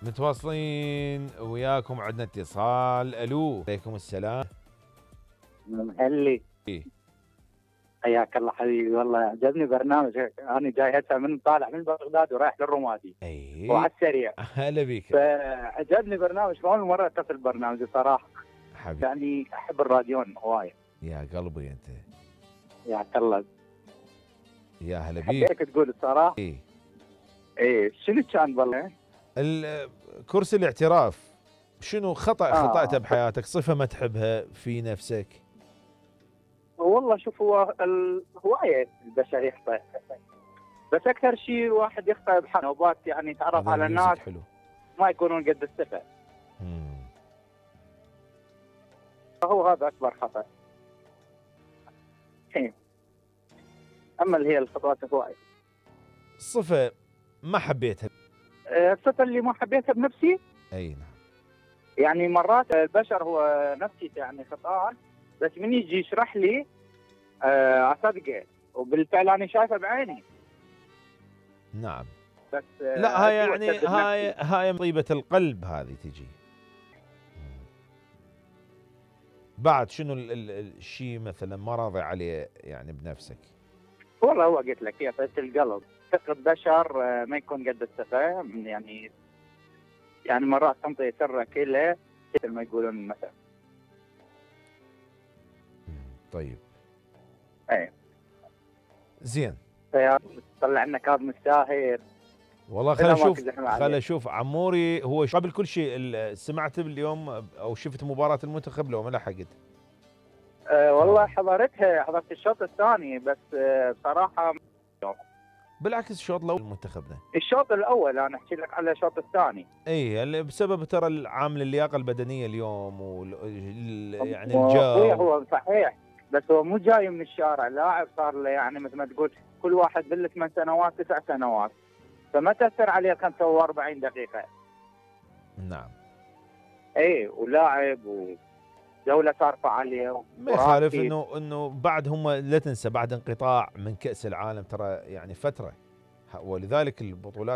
متواصلين وياكم، عندنا اتصال. الو، عليكم السلام. مهلي، إيه؟ حياك الله حبيبي. والله عجبني برنامجك، انا جاي هسه من طالع من بغداد ورايح للرمادي اي وعلى السريع. هلا بيك. فعجبني برنامج، اول مره اتصل برنامج صراحه. حبيبي، يعني احب الراديون هوايه. يا قلبي انت. يا الله، يا هلا بيك. حبيتك تقول الصراحه. ايه ايه شنو كان والله؟ كرسي الاعتراف، شنو خطأته آه. بحياتك، صفة ما تحبها في نفسك؟ والله شوف، هو هوايه البشر يخطئ، بس اكثر شيء واحد يخطئ بحنوبات، يعني يتعرف هذا على الميوزك ناس حلو. ما يكونون قد الثقه. مم. فهو هذا اكبر خطأ. إيه. اما اللي هي الخطوات هوايه. صفة ما حبيتها. الصفه اللي ما حبيتها بنفسي، اي نعم. يعني مرات البشر هو نفسي يعني خطأ، بس من يجي يشرح لي اصدقه، وبالفعل انا شايفه بعيني. نعم. بس لا هاي يعني أسوء هاي طيبة القلب هذه تجي. بعد شنو الشيء مثلا ما راضي عليه يعني بنفسك؟ والله هو قلت لك هي طيبة القلب، ثقة بشر ما يكون قد الثقة، يعني مرات تنطي سرك له مثل ما يقولون مثلا. طيب. ايه زين. طلع لنا كاظم الساهر. والله خل اشوف عموري هو قبل كل شيء سمعت اليوم او شفت مباراة المنتخب لو ما لحقت؟ والله حضرت الشوط الثاني بس بصراحة بالعكس الشوط الاول منتخبنا. الشوط الاول انا احكي لك على الشوط الثاني. اي بسبب ترى العامل اللياقة البدنية اليوم يعني الجو. الجو. هو صحيح، بس هو مو جاي من الشارع، لاعب صار له يعني مثل ما تقول كل واحد بال8 سنوات 9 سنوات، فما تأثر عليه 45 دقيقة. نعم. اي ولاعب ودولة ترفع عليه. ما يخالف انه بعد هم لا تنسى بعد انقطاع من كأس العالم ترى يعني فترة، ولذلك البطولات